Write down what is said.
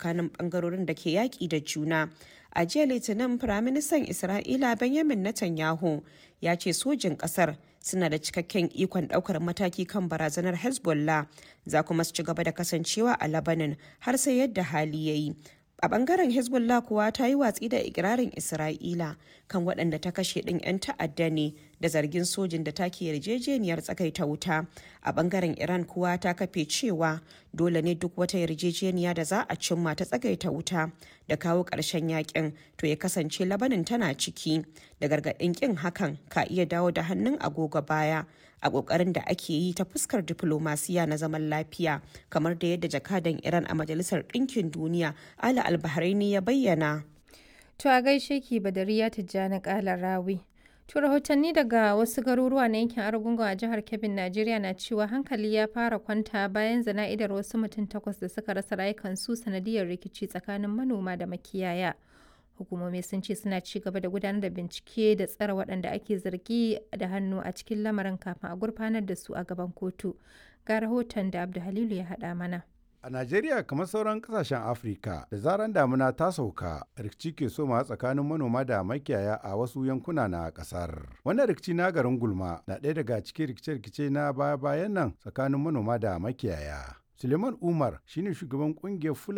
tsakanin bangarorin da ke yaƙi da juna. A jiya Litinin, Firaministan Isra'ila Benjamin Netanyahu ya ce sojin ƙasar suna da cikakken ikon ɗaukar mataki kan barazanar Hezbollah, za kuma su ci gaba da kasancewa a Lebanon har sai yadda hali ya yi. A bangaren Hezbollah kuwa, ta yi watsi da ikirarin Isra'ila kan waɗanda ta kashe ɗin 'yan ta'adda ne da zargin sojin da take yarjejeniyar tsakaita wuta. A bangaren Iran kuwa, ta kafe cewa dole ne duk wata yarjejeniya da za a cimma ta tsagaita wuta da kawo ƙarshen yakin to ya kasance Labanin tana ciki, da gargaɗin ƙin hakan ka iya dawo da hannun agogo baya a ƙoƙarin da ake yi ta fuskar diflomasiya na zaman lafiya, kamar da yadda jakadan Iran a Majalisar Ɗinkin Duniya Ala Albahraini ya bayyana. To a gaishe ki, Badariya Tijjani Kala Rawi. To, rahotanni daga wasu garuruwa na yankin Argungu a jihar Kebbi, Najeriya na cewa hankali ya fara kwanta bayan zana'idar wasu mutum takwas da suka rasa rayukansu sanadiyar rikici tsakanin manoma da makiyaya. Hukumomi sun ce suna ci gaba da gudanar da bincike da tsare waɗanda ake zargi da hannu a cikin lamarin kafin a gurfanar da su a gaban kotu. Ga rahoton da Abdu Halilu ya haɗa mana. A Najeriya, kamar sauran kasashen Afirka, da zaran damuna ta sauka, rikici ke soma tsakanin manoma da makiyaya a wasu yankuna na kasar. Wannan rikici na garin Gulma na ɗaya daga cikin rikice-rikice na baya-bayan nan tsakanin manoma da makiyaya. Suleiman Umar shine shugaban kungiyar Fulani